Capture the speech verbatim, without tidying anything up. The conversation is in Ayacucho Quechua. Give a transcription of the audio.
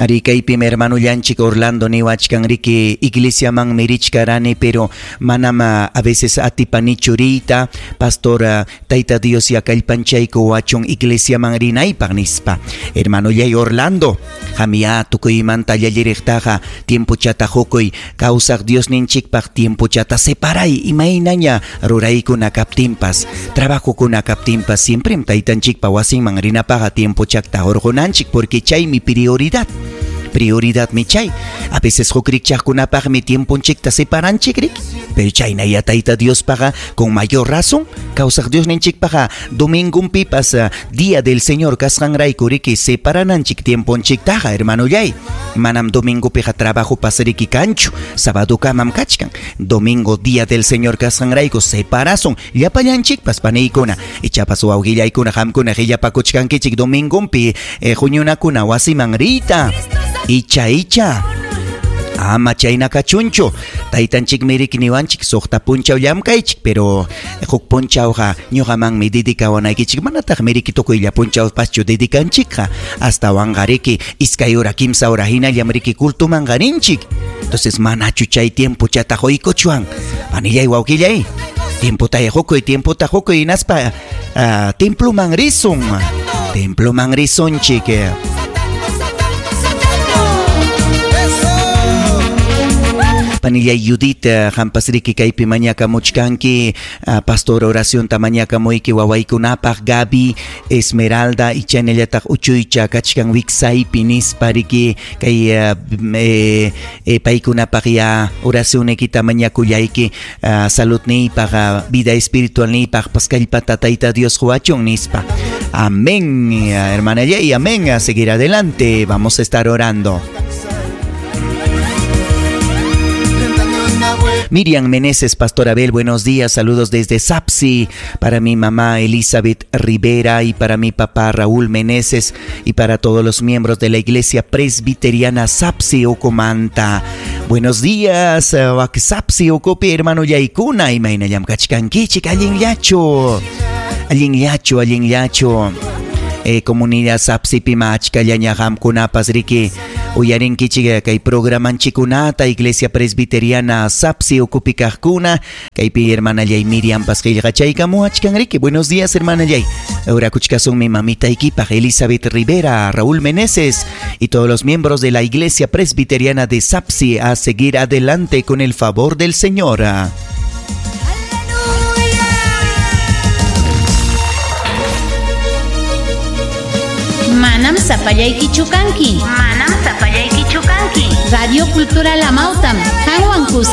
Ari kaypim hermanollanchik Orlando niwachkan riki iglesiamanmi richkarani pero manam a veces atipanichu riyta pastor Tayta Dios ya kallpanchayku wachun iglesiaman rinaypaq nispa. Hermanollay Orlando, qamya tukuymanta llalliriqtaqa tiempochata hukuy kawsaq Diosninchikpaq tiempochata separay imaynaña ruraykuna kaptinpas trabajokuna kaptinpas siemprem taytanchikpa wasinman rinapaqqa tiempochakta hurqunanchik porque chaymi prioridad. Prioridad mi chay. A veces huk rikchaqkunapaqmi tiemponchikta separanchik riki. Pero chayna ya Tayta Diospaqa con mayor razón kawsaq Diosninchikpaqa domingunpipas día del Señor kasqanrayku riki separananchik tiemponchiktaqa hermanollay. Manam domingopiqa trabajopas riki kanchu, sabadokamam kachkan. Domingo día del Señor kasqanrayku separasun llapallanchikpas paniykuna. Ichapas wawqillaykuna qamkuna qillapakuchkankichik domingonpi eh, huñunakuna wasiman riyta. Icha icha ama chayna kachunchu taytanchikmi riki niwanchik suqta punchaw llamkaychik pero huk punchawqa ñuqamanmi dedikawanaykichik manataqmi riki tukuylla punchawpaschu dedikanchikqa astawanqa riki iskay hora kimsa hora hinallam riki cultumanqa rinchik. Entonces manachu chay tiempochata quykuchwan panillay wawqillay tiempota hukuy tiempota hukuy hinaspa uh, temploman risun temploman risunchik. Panillay Judith, qampas riki kaypi mañakamuchkanki, pastor oracionta mañakamuyki wawaykunapaq Gaby, Esmeralda y chaynallataq uchuycha kachkan wiksaypi nispa riki kay eh, eh, paykunapaq ya oracionykita mañakullayki uh, saludniypaq vida espiritualniypaq kallpata Tayta Dios quwachun nispa. Amén, hermana Yey, amén. A seguir adelante, vamos a estar orando. Miriam Meneses, Pastor Abel, buenos días, saludos desde Sapsi, para mi mamá Elizabeth Rivera y para mi papá Raúl Meneses y para todos los miembros de la Iglesia Presbiteriana Sapsi Ocomanta. Buenos días, Sapsi Ocopi, hermano Yaikuna, imaynallam kachkankichik, allinllachu, allinllachu, allinllachu. Eh, comunidad Sapsipi achkallaña qamkunapas riki uyarinkichik kay programanchikunata Iglesia Presbiteriana Sapsi ukupi kaqkuna kaypi hermanallay Miriampas qillqachaykamuwachkan riki. Buenos días, hermanallay. Orakuchkasunmi mamitaykipaq Elizabeth Rivera, Raúl Meneses y todos los miembros de la Iglesia Presbiteriana de Sapsi a seguir adelante con el favor del Señor. Manam sapallaykichu kanki. Manam sapallaykichu kanki. Radio Cultural Amautam, qanwan kuska.